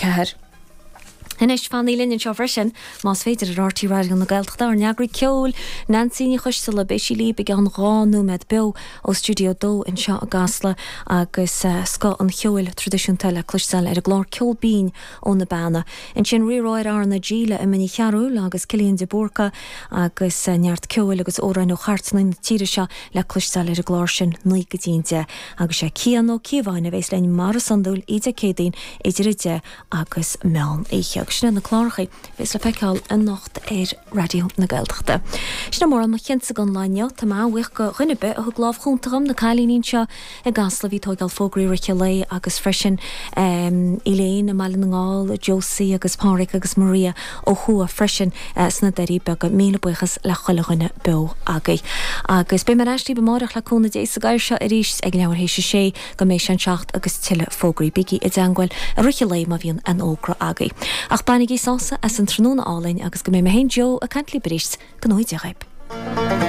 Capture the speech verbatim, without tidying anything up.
ceathair. Anois fanaigí linn anseo freisin, más féidir ar RTÉ Raidió na Gaeltachta, ár n-eagraí ceoil, Neansaí Ní Choisdealbha, beidh sí libh i gceann dhá nóiméad beo ó Stiúideo a Dó anseo i gCasla agus scoth an cheoil traidisiúnta le cloisteáil ar an gclár Ceol Binn ó na Beanna. Ansin riarthóir RnaG le Emma Ní Chearúil agus Cillian de Búrca agus neart ceoil agus amhráin ó chairteanna na tíre seo le cloisteáil ar an gclár sin naoi go dtí an deich agus sé Cian Ó Cíobháin a bhéas linn mar is iondúil oíche Dé Céadaoin idir a deich agus meán oíche. Agus sin iad na cláracha a bhéas le feiceáil anocht ar Raidió na Gaeltachta. Sin é mórán mo chinnse don lá inniu. Tá mé an-bhuíoch go dhuine ar bith a thug lámh chúnta dhom, na cailíní anseo i gCasla a bhí ag tóigeáil fógraí i rith an lae agus freisin Elaine i mBaile na nGall, Josie agus Pádraig agus Maria ó thuaidh freisin sna Doirí Beaga. Míle buíochas le chuile dhuine beo agaibh. Agus beidh mé ar ais libh amáireach le cúnamh Dé sa gcathaoir seo arís ag leathuair théis a sé go mbeidh sé an seacht agus tuilleadh fógraí. Bígí i dteangmháil i rith an lae má bhíonn aon fhógra agaibh. Ach bainigí sásamh as an tráthnóna álainn agus go mbeidh mé féin Joe ag caint libh arís go ngnóthaí Dia dhaoib.